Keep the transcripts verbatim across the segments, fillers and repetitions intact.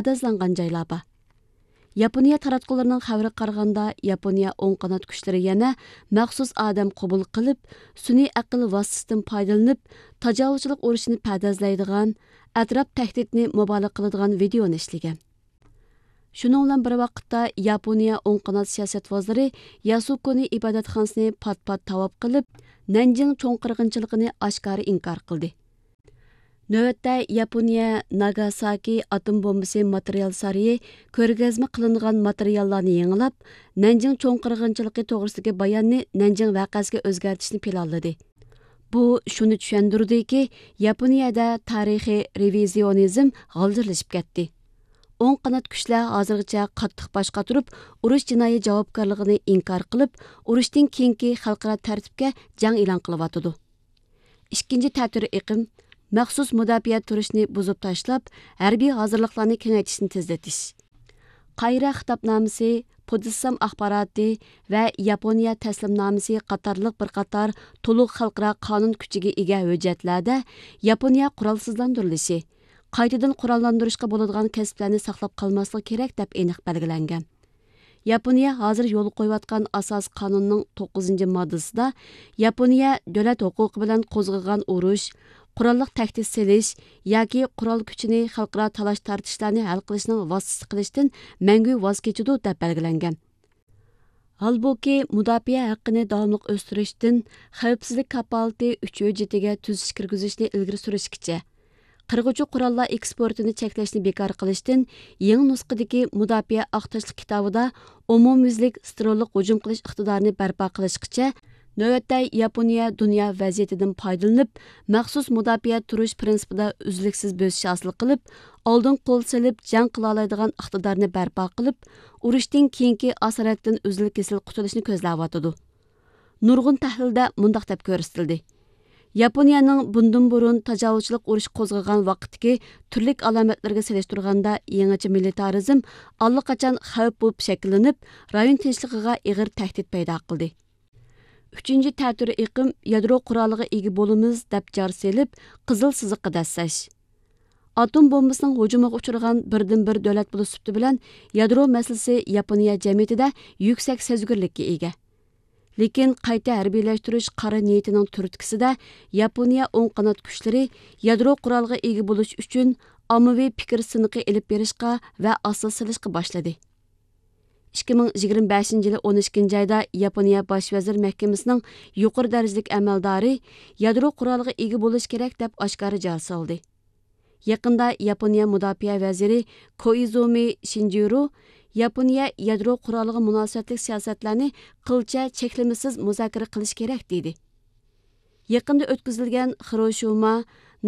پەردازلانغان جايلار بار. ياپونىيە تاراتقۇلىرىنىڭ خەۋىرىگە قارىغاندا، ياپونىيە ئوڭ قانات كۈچلىرى يەنە مەخسۇس ئادەم قوبۇل قىلىپ، سۈنئىي ئەقىل ۋاسىتىسىدىن پايدىلىنىپ، تاجاۋۇزچىلىق ئۇرۇشىنى پەردازلايدىغان، ئەتراپ تەھدىتىنى مۇبالىغە قىلىدىغان ۋىدېئونى ئىشلىگەن. شۇنىڭ بىلەن بىر ۋاقىتتا، ياپونىيە ئوڭ قانات سىياسەت ۋازىرى ياسۇكونى ئىبادەتخانىسىنى پات-پات تاۋاپ قىلىپ، نەنجىڭ چوڭ قىرغىنچىلىقىنى ئاشكارا ئىنكار قىلدى. نۆۋەتتە ياپونىيە ناگاساكى ئاتوم بومبىسى ماتېرىيال سارىيى كۆرگەزمە قىلىنغان ماتېرىياللارنى يېڭىلاپ، نەنجىڭ چوڭ قىرغىنچىلىقى توغرىسىدىكى باياننى نەنجىڭ ۋەقەسىگە ئۆزگەرتىشنى پىلانلىدى. بۇ شۇنى چۈشەندۈرىدۇكى، ياپونىيەدە تارىخىي رېۋىزىيونىزم غالجىرلىشىپ كەتتى. ئوڭ قانات كۈچلەر ھازىرغىچە قاتتىق باش قاتۇرۇپ، ئۇرۇش جىنايى جاۋابكارلىقىنى ئىنكار قىلىپ، ئۇرۇشتىن كېيىنكى خەلقئارا تەرتىپكە جەڭ ئېلان قىلىۋاتىدۇ. ئىككىنچى تەتۈر ئېقىم مەخسۇس مۇداپىئە تۇرۇشنى بۇزۇپ تاشلاپ، ھەربىي ھازىرلىقلارنى كېڭەيتىشنى تېزلىتىش. قاھىرە خىتابنامىسى، پۇدسام ئاخباراتى ۋە ياپونىيە تەسلىمنامىسى قاتارلىق بىر قاتار تولۇق خەلقئارا قانۇن كۈچىگە ئىگە ھۆججەتلەردە ياپونىيە قورالسىزلاندۇرۇلۇشى، قايتىدىن قوراللاندۇرۇشقا بولىدىغان كەسىپلەرنى ساقلاپ قالماسلىقى كېرەك، دەپ ئېنىق بەلگىلەنگەن. ياپونىيە ھازىر يولغا قويۇۋاتقان ئاساسىي قانۇننىڭ توققۇزىنچى ماددىسىدا ياپونىيە دۆلەت ھوقۇقى بىلەن قوزغىغان ئۇرۇش، قوراللىق تەھدىت سېلىش ياكى قورال كۈچىنى خەلقئارا تالاش-تارتىشلارنى ھەل قىلىشنىڭ ۋاسىتىسى قىلىشتىن مەڭگۈ ۋاز كېچىدۇ، دەپ بەلگىلەنگەن. ھالبۇكى، مۇداپىئە ھەققىنى داۋاملىق ئۆستۈرۈشتىن خەۋپسىزلىك كاپالىتى ئۈچ ھۆججىتىگە تۈزىتىش كىرگۈزۈشنى ئىلگىرى سۈرۈشكىچە، قىرغۇچى قوراللار ئېكسپورتىنى چەكلەشنى بىكار قىلىشتىن يېڭى نۇسخىدىكى مۇداپىئە ئاق تاشلىق كىتابىدا ئومۇميۈزلۈك ستېرىللىق ھۇجۇم قىلىش ئىقتىدارىنى بەرپا قىلىشقىچە، نۆۋەتتە ياپونىيە دۇنيا ۋەزىيىتىدىن پايدىلىنىپ، مەخسۇس مۇداپىئە تۇرۇش پىرىنسىپىدا ئۈزلۈكسىز بۆسۈش ھاسىل قىلىپ، ئالدىن قول سېلىپ جەڭ قىلالايدىغان ئىقتىدارنى بەرپا قىلىپ، ئۇرۇشتىن كېيىنكى ئاسارەتتىن ئۈزۈل-كېسىل قۇتۇلۇشنى كۆزلەۋاتىدۇ. نۇرغۇن تەھلىلدە مۇنداق دەپ كۆرسىتىلدى: ياپونىيەنىڭ بۇندىن بۇرۇن تاجاۋۇزچىلىق ئۇرۇشى قوزغىغان ۋاقىتتىكى تۈرلۈك ئالامەتلىرىگە سېلىشتۇرغاندا، يېڭىچە مىلىتارىزم ئاللىقاچان خەۋپ بولۇپ شەكىللىنىپ، رايون تىنچلىقىغا ئېغىر تەھدىت پەيدا قىلدى. ئۈچىنچى تەتۈر ئېقىم يادرو قورالىغا ئىگە بولىمىز دەپ جار سېلىپ، قىزىل سىزىققا دەسسەش. ئاتوم بومبىسىنىڭ ھۇجۇمىغا ئۇچرىغان بىردىنبىر دۆلەت بولۇش سۈپىتى بىلەن، يادرو مەسىلىسى ياپونىيە جەمئىيىتىدە يۈكسەك سەزگۈرلۈككە ئىگە. لېكىن قايتا ھەربىيلەشتۈرۈش قارا نىيىتىنىڭ تۈرتكىسىدە، ياپونىيە ئوڭ قانات كۈچلىرى يادرو قورالىغا ئىگە بولۇش ئۈچۈن ئاممىۋى پىكىر سىنىقى ئېلىپ بېرىشقا ۋە ئاساس سېلىشقا باشلىدى. ئىككى مىڭ يىگىرمە بەشىنچى يىلى ئون ئىككىنچى ئايدا ياپونىيە باش ۋەزىر مەھكىمىسىنىڭ يۇقىرى دەرىجىلىك ئەمەلدارى يادرو قورالىغا ئىگە بولۇش كېرەك، دەپ ئاشكارا جار سالدى. يېقىندا ياپونىيە مۇداپىئە ۋەزىرى كوئىزۇمى شىنجىرو ياپونىيە يادرو قورالىغا مۇناسىۋەتلىك سىياسەتلەرنى قىلچە چەكلىمىسىز مۇزاكىرە قىلىش كېرەك، دېدى. يېقىندا ئۆتكۈزۈلگەن خىروشىما،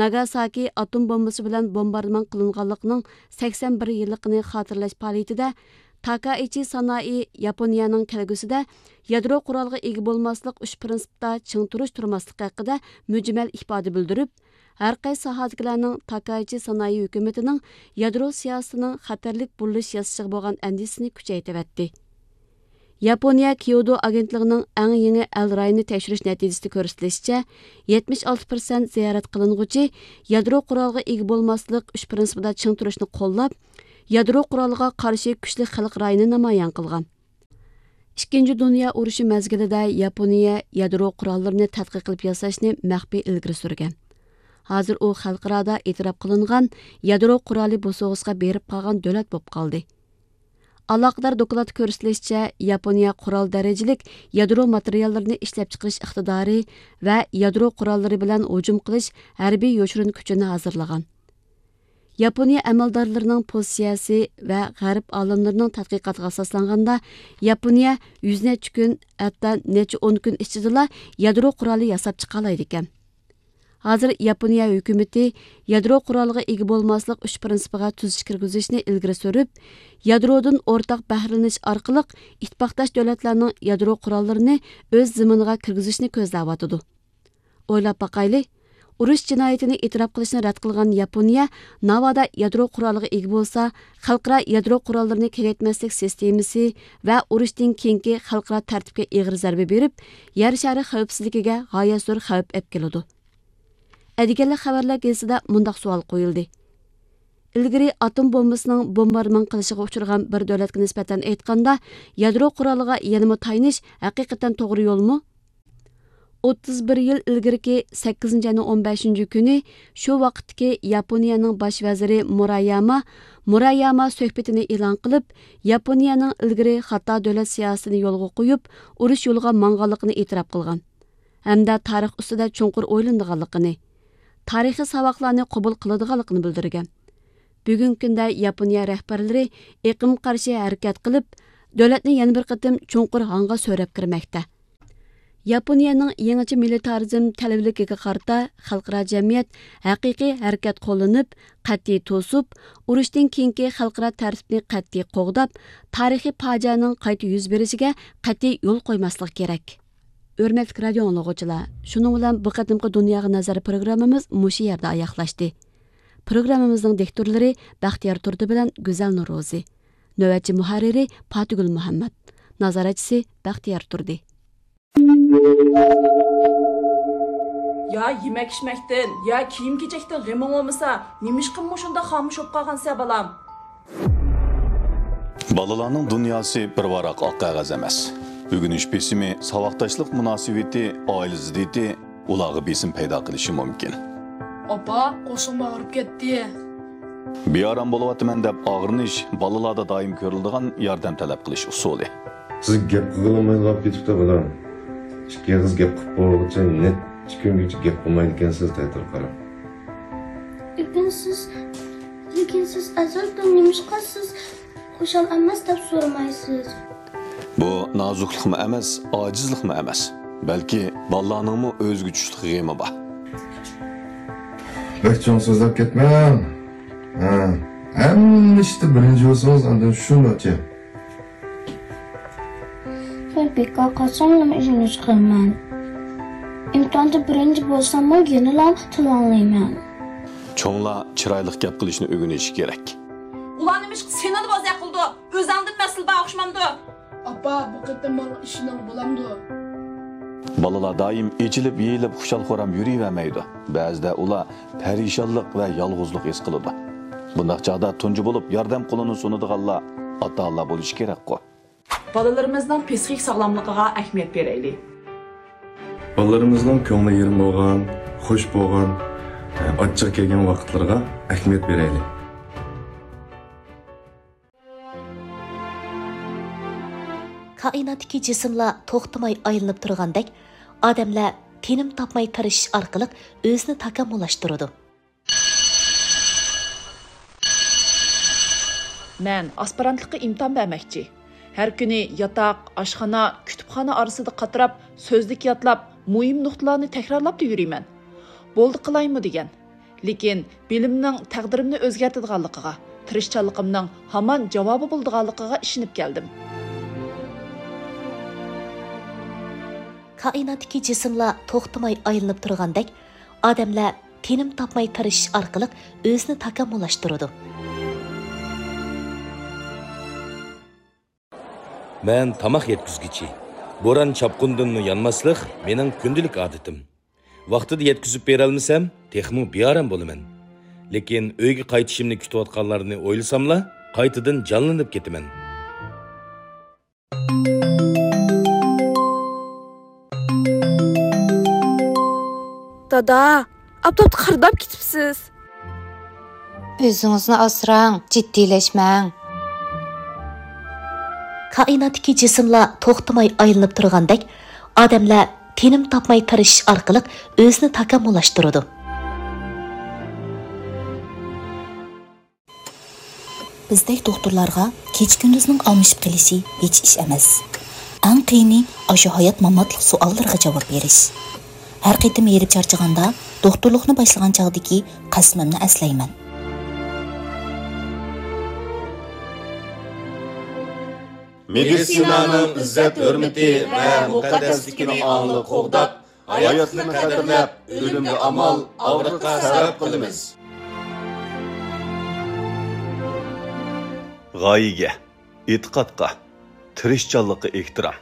ناگاساكى ئاتوم بومبىسى بىلەن بومباردىمان قىلىنغانلىقىنىڭ سەكسەن بىر يىللىقىنى خاتىرىلەش پائالىيىتىدە تاكائىچى سانائى ياپونىيەنىڭ كەلگۈسىدە يادرو قورالىغا ئىگە بولماسلىق ئۈچ پىرىنسىپتا چىڭ تۇرۇش تۇرماسلىقى ھەققىدە مۈجمەل ئىپادە بىلدۈرۈپ، ھەرقايسى ساھەدىكىلەرنىڭ تاكائىچى سانائى ھۆكۈمىتىنىڭ يادرو سىياسىتىنىڭ خەتەرلىك بۇرۇلۇش ياسىشىغا بولغان ئەندىشىسىنى كۈچەيتىۋەتتى. ياپونىيە كيودو ئاگېنتلىقىنىڭ ئەڭ يېڭى ئەل رايونىنى تەكشۈرۈش نەتىجىسىدە كۆرسىتىلىشىچە، يەتمىش ئالتە پىرسەنت زىيارەت قىلىنغۇچى يادرو قورالىغا ئىگە بولماسلىق ئۈچ پىرىنسىپىدا چىڭ تۇرۇشنى قوللاپ، يادرو قورالىغا قارشى كۈچلۈك خەلق رايىنى نامايان قىلغان. ئىككىنچى دۇنيا ئۇرۇشى مەزگىلىدە ياپونىيە يادرو قوراللىرىنى تەتقىق قىلىپ ياساشنى مەخپىي ئىلگىرى سۈرگەن. ھازىر ئۇ خەلقئارادا ئېتىراپ قىلىنغان يادرو قورالى بوسۇغىسىغا بېرىپ قالغان دۆلەت بولۇپ قالدى. ئالاقىدار دوكلاتتا كۆرسىتىلىشىچە، ياپونىيە قورال دەرىجىلىك يادرو ماتېرىياللىرىنى ئىشلەپچىقىرىش ئىقتىدارى ۋە يادرو قوراللىرى بىلەن ھۇجۇم قىلىش ھەربىي يوشۇرۇن كۈچىنى ھازىرلىغان. ياپونىيە ئەمەلدارلىرىنىڭ پوزىتسىيەسى ۋە غەرب ئالىملىرىنىڭ تەتقىقاتىغا ئاساسلانغاندا، ياپونىيە يۈز نەچچە كۈن، ھەتتا نەچچە ئون كۈن ئىچىدىلا يادرو قورالى ياساپ چىقالايدىكەن. ھازىر ياپونىيە ھۆكۈمىتى يادرو قورالىغا ئىگە بولماسلىق ئۈچ پىرىنسىپىغا تۈزىتىش كىرگۈزۈشنى ئىلگىرى سۈرۈپ، يادرودىن ئورتاق بەھرىلىنىش ئارقىلىق ئىتتىپاقداش دۆلەتلەرنىڭ يادرو قوراللىرىنى ئۆز زېمىنىغا كىرگۈزۈشنى كۆزلەۋاتىدۇ. ئويلاپ باقايلى، ئۇرۇش جىنايىتىنى ئېتىراپ قىلىشنى رەت قىلغان ياپونىيە ناۋادا يادرو قورالىغا ئىگە بولسا، خەلقئارا يادرو قوراللىرىنى كېڭەيتمەسلىك سىستېمىسى ۋە ئۇرۇشتىن كېيىنكى خەلقئارا تەرتىپكە ئېغىر زەربە بېرىپ، يەر شارى خەۋپسىزلىكىگە غايەت زور خەۋپ ئەپ كېلىدۇ. ئەدىگەنلىك خەۋەرلەر گېزىتىدە مۇنداق سوئال قويۇلدى: ئىلگىرى ئاتوم بومبىسىنىڭ بومباردىمان قىلىشىغا ئۇچرىغان بىر دۆلەتكە نىسبەتەن ئېيتقاندا، يادرو قورالىغا يەنىمۇ تايىنىش ھەقىقەتەن توغرا يولمۇ؟ ئوتتۇز بىر يىل ئىلگىرىكى سەككىزىنچى ئاينىڭ ئون بەشىنچى كۈنى شۇ ۋاقىتتىكى ياپونىيەنىڭ باش ۋەزىرى مۇراياما، مۇراياما سۆھبىتىنى ئېلان قىلىپ، ياپونىيەنىڭ ئىلگىرى خاتا دۆلەت سىياسىتىنى يولغا قويۇپ، ئۇرۇش يولىغا ماڭغانلىقىنى ئېتىراپ قىلغان ھەمدە تارىخ ئۈستىدە چوڭقۇر ئويلىنىدىغانلىقىنى، تارىخىي ساۋاقلارنى قوبۇل قىلىدىغانلىقىنى بىلدۈرگەن. بۈگۈنكى كۈندە ياپونىيە رەھبەرلىرى ئېقىمغا قارشى ھەرىكەت قىلىپ، دۆلەتنى يەنە بىر قېتىم چوڭقۇر ھاڭغا سۆرەپ كىرمەكتە. ياپونىيەنىڭ يېڭىچە مىلىتارىزم تەلۋىلىكىگە قارىتا خەلقئارا جەمئىيەت ھەقىقىي ھەرىكەت قوللىنىپ، قەتئىي توسۇپ، ئۇرۇشتىن كېيىنكى خەلقئارا تەرتىپنى قەتئىي قوغداپ، تارىخىي پاجىئەنىڭ قايتا يۈز بېرىشىگە قەتئىي يول قويماسلىق كېرەك. ھۆرمەتلىك رادىيو ئاڭلىغۇچىلار، شۇنىڭ بىلەن بۇ قېتىمقى دۇنياغا نەزەر پروگراممىمىز مۇشۇ يەردە ئاياغلاشتى. پروگراممىمىزنىڭ دىكتورلىرى بەختىيار تۇردى بىلەن گۈزەل نورۇزى. نۆۋەتچى مۇھەررىرى پاتىگۈل مۇھەممەت. نازارەتچىسى بەختىيار تۇردى. يا يېمەك-ئىچمەكتىن، يا كىيىم-كېچەكتىن غېمىڭ بولمىسا، نېمىشقا مۇشۇنداق خامۇش بولۇپ قالغانسەن، بالام؟ بالىلارنىڭ دۇنياسى بىر ۋاراق ئاق قەغەز ئەمەس. ئۆگىنىش بېسىمى، ساۋاقداشلىق مۇناسىۋىتى، ئائىلە زىددىيىتى ئۇلارغا بېسىم پەيدا قىلىشى مۇمكىن. ئاپا، قورسىقىم ئاغرىپ كەتتى. بىئارام بولۇۋاتىمەن دەپ ئاغرىنىش بالىلاردا دائىم كۆرۈلىدىغان ياردەم تەلەپ قىلىش ئۇسۇلى. سىز گەپ قىلغىلى بولمايدىغان بولۇپ كېتىپتۇ، بالام. ئىككى ئېغىز گەپ قىلىپ بولغۇچە نەچچە كۈنگىچە گەپ قىلمايدىكەنسىز، تەتۈر قاراپ. لېكىن سىز، لېكىن سىز ئەزەلدىن نېمىشقا سىز خۇشال ئەمەس دەپ سورىمايسىز؟ بۇ نازۇكلۇقمۇ ئەمەس، ئاجىزلىقمۇ ئەمەس، بەلكى بالىلارنىڭمۇ ئۆزىگە چۈشلۈك غېمى بار. بەك چوڭ سۆزلەپ كەتمەڭ. ھە، ھەممە ئىشتا بىرىنچى بولسىڭىز، ئاندىن شۇنداقچە. مەن بىكار قالساملا ئۆگىنىش قىلىمەن. ئىمتىھاندا بىرىنچى بولساممۇ يەنىلا تىلانلايمەن. چوڭلار چىرايلىق گەپ قىلىشنى ئۆگىنىشى كېرەك. ئۇلار نېمىشقا سېنىلا بوزەك قىلىدۇ؟ ئۆزەڭدىن مەسىلە بار ئوخشىمامدۇ؟ ئاپا، بۇ قېتىم ماڭا ئىشىنىڭ بولامدۇ؟ بالىلار دائىم ئېچىلىپ-يېيىلىپ خۇشال-خۇرام يۈرۈۋەرمەيدۇ. بەزىدە ئۇلار پەرىشانلىق ۋە يالغۇزلۇق ھېس قىلىدۇ. بۇنداق چاغدا تۇنجى بولۇپ ياردەم قولىنى سۇنىدىغانلار ئاتا-ئانىلار بولۇشى كېرەكقۇ. بالىلىرىمىزنىڭ پسىخىك ساغلاملىقىغا ئەھمىيەت بېرەيلى. بالىلىرىمىزنىڭ كۆڭلى يېرىم بولغان، خۇش بولغان، ئاچچىقى كەلگەن ۋاقىتلىرىغا ئەھمىيەت بېرەيلى. كائىناتتىكى جىسىملار توختىماي ئايلىنىپ تۇرغاندەك، ئادەملەر تىنىم تاپماي تىرىشىش ئارقىلىق ئۆزىنى تاكامۇللاشتۇرىدۇ. مەن ئاسپىرانتلىققا ئىمتىھان بەرمەكچى. ھەر كۈنى ياتاق، ئاشخانا، كۇتۇپخانا ئارىسىدا قاتراپ، سۆزلۈك يادلاپ، مۇھىم نۇقتىلارنى تەكرارلاپلا يۈرىمەن. بولدى قىلايمۇ دېگەن. لېكىن بىلىمنىڭ تەقدىرىمنى ئۆزگەرتىدىغانلىقىغا، تىرىشچانلىقىمنىڭ ھامان جاۋابى بولىدىغانلىقىغا ئىشىنىپ كەلدىم. كائىناتتىكى جىسىملار توختىماي ئايلىنىپ تۇرغاندەك، ئادەملەر تىنىم تاپماي تىرىشىش ئارقىلىق ئۆزىنى تاكامۇللاشتۇرىدۇ. مەن تاماق يەتكۈزگۈچى. بوران-چاپقۇندىنمۇ يانماسلىق مېنىڭ كۈندىلىك ئادىتىم. ۋاقتىدا يەتكۈزۈپ بېرەلمىسەم، تېخىمۇ بىئارام بولىمەن. لېكىن ئۆيگە قايتىشىمنى كۈتۈۋاتقانلارنى ئويلىساملا، قايتىدىن جانلىنىپ كېتىمەن. دادا، ئاپتاپتا قارىداپ كېتىپسىز. ئۆزىڭىزنى ئاسراڭ، جىددىيلەشمەڭ. كائىناتتىكى جىسىملار توختىماي ئايلىنىپ تۇرغاندەك، ئادەملەر تىنىم تاپماي تىرىشىش ئارقىلىق ئۆزىنى تاكامۇللاشتۇرىدۇ. بىزدەك دوختۇرلارغا كېچە-كۈندۈزنىڭ ئالمىشىپ قېلىشى ھېچ ئىش ئەمەس. ئەڭ قىيىنى ئاشۇ ھايات-ماماتلىق سوئاللىرىغا جاۋاب بېرىش. ھەر قېتىم ھېرىپ چارچىغاندا، دوختۇرلۇقنى باشلىغان چاغدىكى قەسىمىمنى ئەسلەيمەن. مېدىتسىنانىڭ ئىززەت-ھۆرمىتى ۋە مۇقەددەسلىكىنى ئاڭلىق قوغداپ، ھاياتنى قەدىرلەپ، ئۆلۈمگە ئامال، ئاغرىققا سەۋەب قىلىمىز. غايىگە، ئېتىقادقا، تىرىشچانلىققا ئېھتىرام.